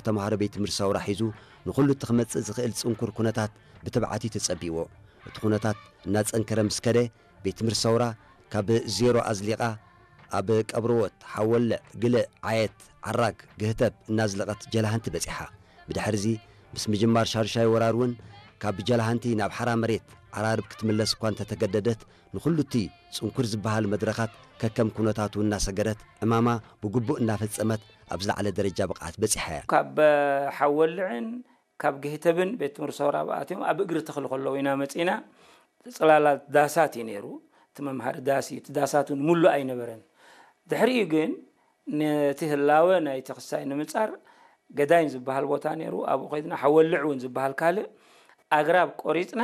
ተምሃሮ ቤት ትምህርቲ ሰውራ ሒዙ ንኹሉ እቲ ክመጽእ ዝኽእል ጽንኩር ኩነታት ብትብዓት እዩ ተጸቢዎ። እቲ ኩነታት እናጸንከረ ምስ ከደ፣ ቤት ትምህርቲ ሰውራ ካብ ዜሮ ኣዝሊቓ ኣብ ቀብርዎት፣ ሓወልዕ፣ ግልዕ፣ ዓየት፣ ዓራግ፣ ግህተብ እናዝለቐት ጀላሃንቲ በጺሓ። ብድሕርዚ ምስ ምጅማር ሻዱሻይ ወራር እውን ካብ ጀላሃንቲ ናብ ሓራ መሬት ዓራርብ ክትምለስ እኳ እንተተገደደት፣ ንኹሉ እቲ ጽንኩር ዝበሃል መድረኻት ከከም ኩነታቱ እናሰገረት፣ ዕማማ ብግቡእ እናፈጸመት ኣብ ዝለዓለ ደረጃ ብቕዓት በጺሓ እያ። ካብ ሓወልዕን ካብ ግህተብን ቤት ትምህርቲ ሰውራ ኣትዮም ኣብ እግሪ ተኽሊ ከለዉ ኢና መጺና። ጽላላት ዳሳት እዩ ነይሩ። እቲ መምሃሪ ዳስ እዩ። እቲ ዳሳት እውን ምሉእ ኣይነበረን። ድሕሪኡ ግን ነቲ ህላወ ናይቲ ክሳይ ንምጻር ገዳይን ዝበሃል ቦታ ነይሩ። ኣብኡ ከይድና ሓወልዕ እውን ዝበሃል ካልእ ኣግራብ ቆሪጽና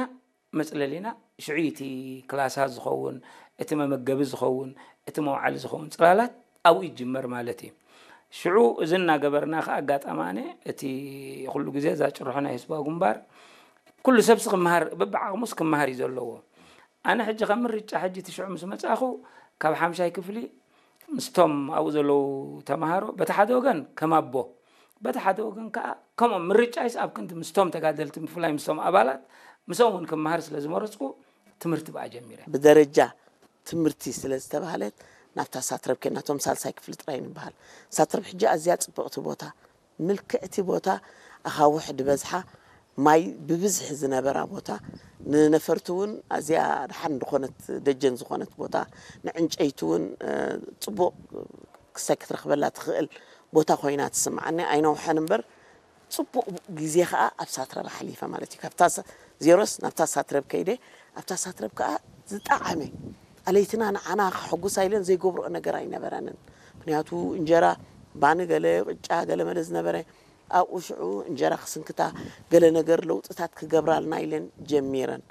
መጽለሊና ሽዑ እቲ ክላሳት ዝኸውን፣ እቲ መመገቢ ዝኸውን፣ እቲ መውዓሊ ዝኸውን ጽላላት ኣብኡ ይጅመር ማለት እዩ። ሽዑ እዚ እናገበርና ከኣ ኣጋጣማነ እቲ ኩሉ ግዜ እዛ ጭርሖ ናይ ህዝባዊ ግንባር ኩሉ ሰብሲ ክመሃር በብዓቕሙስ ክመሃር እዩ ዘለዎ። ኣነ ሕጂ ከም ምርጫ ሕጂ እቲ ሽዑ ምስ መጻኹ ካብ ሓምሻይ ክፍሊ ምስቶም ኣብኡ ዘለዉ ተምሃሮ በቲ ሓደ ወገን ከም ኣቦ በቲ ሓደ ወገን ከኣ ከምኦም ምርጫይስ ኣብ ክንዲ ምስቶም ተጋደልቲ ብፍላይ ምስቶም ኣባላት ምስኦም እውን ክመሃር ስለ ዝመረጽኩ ትምህርቲ ብኣ ጀሚረ። ብደረጃ ትምህርቲ ስለ ዝተባህለት ናብታ ሳትረብ ከይድና፣ እቶም ሳልሳይ ክፍሊ ጥራይ ንበሃል። ሳትረብ ሕጂ ኣዝያ ጽብቕቲ ቦታ፣ ምልክዕቲ ቦታ፣ ኣኻውሕ ዝበዝሓ፣ ማይ ብብዝሒ ዝነበራ ቦታ፣ ንነፈርቲ እውን ኣዝያ ደሓን ዝኾነት ደጀን ዝኾነት ቦታ፣ ንዕንጨይቲ እውን ጽቡቕ ክሳይ ክትረኽበላ ትኽእል ቦታ ኮይና ትስምዓኒ። ኣይነውሐን እምበር ጽቡቕ ግዜ ኸኣ ኣብ ሳትረብ ኣሕሊፈ ማለት እዩ። ካብታ ሳ- ዜሮስ ናብታ ሳትረብ ከይደ፣ ኣብታ ሳትረብ ከኣ ዝጠዓመ ኣለይትና ንዓና ከሐጉሳ ኢለን ዘይገብርኦ ነገር ኣይነበረንን። ምክንያቱ እንጀራ ባኒ ገለ ቅጫ ገለ መለ ዝነበረ፣ ኣብኡ ሽዑ እንጀራ ክስንክታ ገለ ነገር ለውጥታት ክገብራልና ኢለን ጀሚረን።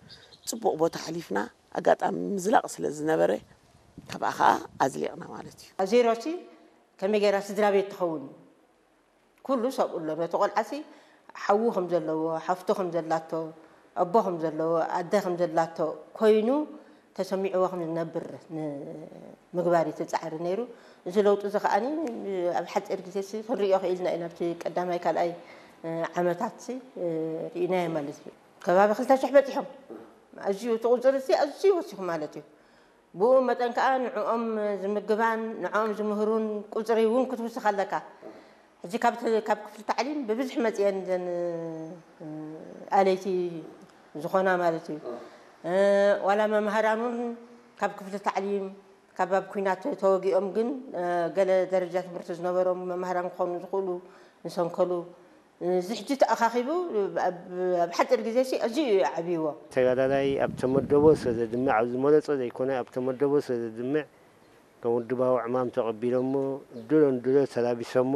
ጽቡቕ ቦታ ኣሕሊፍና፣ ኣጋጣሚ ምዝላቕ ስለ ዝነበረ ካብኣ ኸኣ ኣዝሊቕና ማለት እዩ። ኣብ ዜሮሲ ከመይ ገይራ ስድራ ቤት ትኸውን? ኩሉ ሰብኡ ኣሎ። ነቲ ቆልዓሲ ሓዉ ከም ዘለዎ፣ ሓፍቱ ከም ዘላቶ፣ ኣቦ ከም ዘለዎ፣ ኣደ ከም ዘላቶ ኮይኑ ተሰሚዕዎ ከም ዝነብር ንምግባር እዩ እቲ ጻዕሪ ነይሩ። እዚ ለውጢ እዚ ከኣ ኣብ ሓጺር ግዜሲ ክንርእዮ ክኢልና ኢና። ኣብቲ ቀዳማይ ካልኣይ ዓመታትሲ ርኢናዮ ማለት እዩ። ከባቢ ክልተ ሽሕ በጺሖም። ኣዝዩ እቲ ቁጽሪ እዚ ኣዝዩ ወሲኹ ማለት እዩ። ብኡ መጠን ከኣ ንዕኦም ዝምግባን ንዕኦም ዝምህሩን ቁጽሪ እውን ክትውስኽ ኣለካ። ሕጂ ካብ ተ- ካብ ክፍሊ ታዕሊም ብብዝሒ መጺኤን ዘን ኣለይቲ ዝኾና ማለት እዩ። ዋላ መምሃራን እውን ካብ ክፍሊ ታዕሊም ካብ ኣብ ኲናት ተወጊኦም ግን ገለ ደረጃ ትምህርቲ ዝነበሮም መምሃራን ክኾኑ ዝኽእሉ ዝሰንከሉ እዚ ሕጂ ተኣኻኺቡ ኣብ ኣብ ሓጺር ግዜ ሲ ኣዝዩ እዩ ዓብይዎ። ተጋዳላይ ኣብ ተመደቦ ስለ ዘድምዕ፣ ኣብ ዝመረጾ ዘይኮነ ኣብ ተመደቦ ስለ ዘድምዕ፣ ከም ውድባዊ ዕማም ተቐቢሎሞ፣ ድሎን ድሎ ተላቢሶሞ፣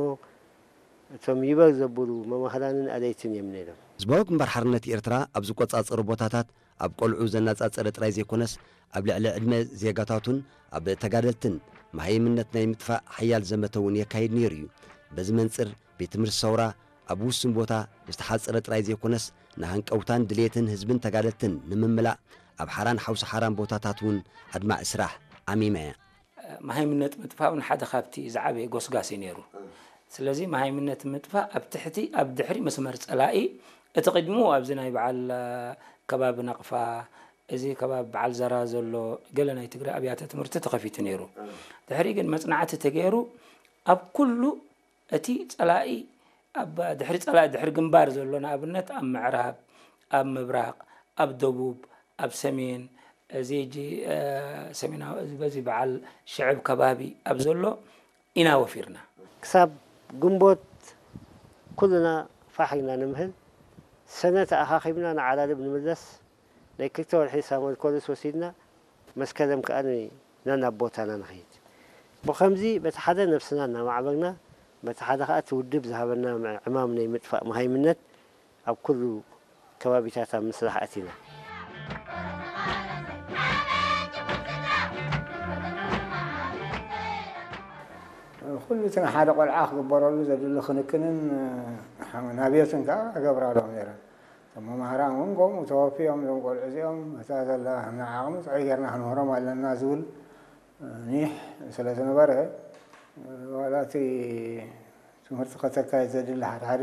እቶም ይበል ዘብሉ መማህራንን ኣለይትን እዮም ነይሮም። ህዝባዊ ግንባር ሓርነት ኤርትራ ኣብ ዝቆጻጸሩ ቦታታት ኣብ ቆልዑ ዘነጻጸረ ጥራይ ዘይኮነስ፣ ኣብ ልዕሊ ዕድመ ዜጋታቱን ኣብ ተጋደልትን መሃይምነት ናይ ምጥፋእ ሓያል ዘመተ እውን የካይድ ነይሩ እዩ። በዚ መንጽር፣ ቤት ትምህርቲ ሰውራ ኣብ ውሱን ቦታ ዝተሓጽረ ጥራይ ዘይኮነስ፣ ንሃንቀውታን ድሌትን ህዝብን ተጋደልትን ንምምላእ ኣብ ሓራን ሓውሲ ሓራን ቦታታት እውን ኣድማዒ ስራሕ ዓሚማ እያ። መሃይምነት ምጥፋእ እውን ሓደ ካብቲ ዝዓበየ ጎስጋስ እዩ ነይሩ። ስለዚ መሃይምነት ምጥፋእ ኣብ ትሕቲ፣ ኣብ ድሕሪ መስመር ጸላኢ፣ እቲ ቅድሚኡ ኣብዚ ናይ በዓል ከባቢ ናቕፋ፣ እዚ ከባቢ በዓል ዘራ ዘሎ ገለ ናይ ትግራይ ኣብያተ ትምህርቲ ተኸፊቱ ነይሩ። ድሕሪ ግን መጽናዕቲ ተገይሩ ኣብ ኩሉ እቲ ጸላኢ ኣብ ድሕሪ ጸላኢ ድሕሪ ግንባር ዘሎ ንኣብነት ኣብ ምዕራብ፣ ኣብ ምብራቕ፣ ኣብ ደቡብ፣ ኣብ ሰሜን፣ እዚ ሕጂ ሰሜናዊ እዚ በዚ በዓል ሽዕብ ከባቢ ኣብ ዘሎ ኢና ወፊርና። ክሳብ ግንቦት ኩልና ፋሕ ኢልና ንምህል፣ ሰነ ተኣኻኺብና ንዓራርብ ንምለስ፣ ናይ ክልተ ወርሒ ሳመር ኮርስ ወሲድና፣ መስከረም ከኣ ን- ናብ ቦታና ንኸይድ። ብኸምዚ በቲ ሓደ ነብስና እናማዕበልና፣ በቲ ሓደ ከኣ እቲ ውድብ ዝሃበና ዕማም ናይ ምጥፋእ መሃይምነት ኣብ ኩሉ ከባቢታት ኣብ ምስራሕ ኣቲና። ኩሉ እቲ ንሓደ ቆልዓ ክግበረሉ ዘድሊ ክንክንን ናብዮትን ከኣ እገብራሎም ነይረ። እቶም መማህራን እውን ከምኡ ተወፊዮም፣ እዞም ቆልዑ እዚኦም እታ ዘላ ዓቕሚ ጥዑይ ጌርና ክንምህሮም ኣለና ዝብል ኒሕ ስለ ዝነበረ፣ ዋላ እቲ ትምህርቲ ከተካይድ ዘድሊ ሓደ ሓደ